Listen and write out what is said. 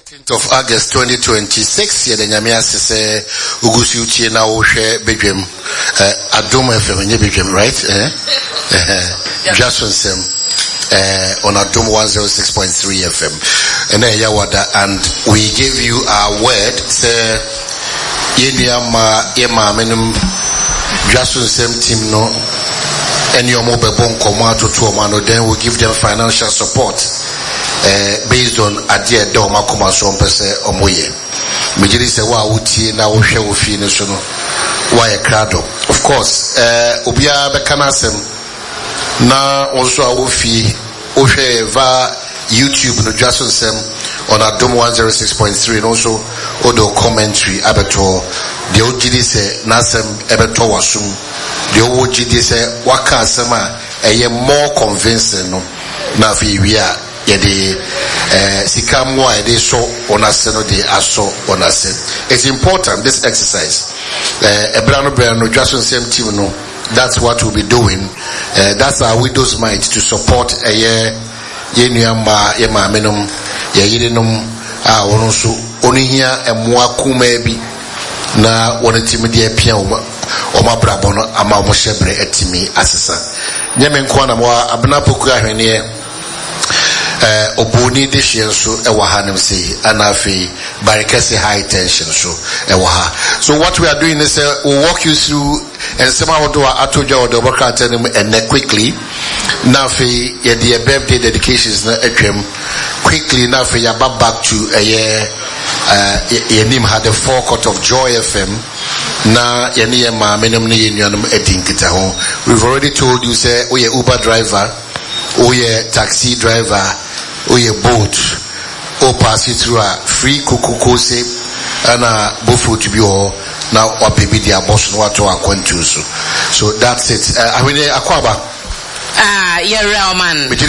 13th of August 2026 yɛda Nyame ase sɛ wogu so tie na wohwɛ badwam eh, Adom FM ɛnyɛ badwam right eh? eh, dwa so nsɛm eh, on Adom 106.3 FM ɛna ɛyɛ wada and we gave you our word sɛ yɛn nua ma yɛ maame nom dwa so nsɛm team no ɛne ɔmo bɛbɔ nkɔmɔ atoto ɔmo ano, then we give them financial support based on adeɛ a ɛda wɔn akoma so wɔn pɛ sɛ wɔn yɛ. Megye di sɛ wo a wotie na wohwɛ wo fie no so no, woayɛ krado. Of course, eh, obiara bɛka n'asɛm na wo nso a wɔ fie wohwɛ yɛ va YouTube no dwa so nsɛm on Adom 106.3 no nso wode wo commentary abɛto hɔ. Deɛ wogye di sɛ n'asɛm ɛbɛtɔ w'asom, deɛ wowɔ gyidie sɛ waka asɛm a ɛyɛ more convincing no, na afei yɛwie a yɛde eh, sika mmoa a yɛde sɔ wɔn ase no de asɔ wɔn ase. It's important this exercise. Eh, ɛberɛ ano berɛ no dwa so nsɛm team no, that's what we'll be doing. Eh, that's our widow's mite to support ɛyɛ yɛn nua mmaa, yɛn maame nom, yɛn yerenom a wɔn nso wɔn hia mmoa kumaa bi na wɔn atumi de apia wɔn wɔn abrabɔ no ama wɔn hyɛbrɛ atumi asesa. Nyɛ me nko na mewɔ Abena Poku Ahweneɛ, ɛɛ Obuoni dehyeɛ nso ɛwɔ ha nom sei, ɛna afei Barikɛse High Tension nso ɛwɔ ha. So what we are doing is we'll walk you through nsɛm ahodoɔ a ato dwa wɔ dɔbɔ krataa no mu ɛnɛ quickly, na afei yɛde yɛ birthday dedications no atwam quickly, na afei yɛaba back to ɛyɛ yɛnim ha, the forecourt of Joy FM, na yɛne yɛn maame nom ne yɛn nuanom adi nkitaho. We've already told you sɛ woyɛ Uber driver, woyɛ taxi driver, woyɛ Bolt, wo pass through a, free kuku kose ɛna bofrot bi wɔ hɔ na wapɛ bi de abɔ so na watɔ akwantuo so. So that's it. Ahwene akɔ aba. Ah, yɛwerɛ ɔman. Megye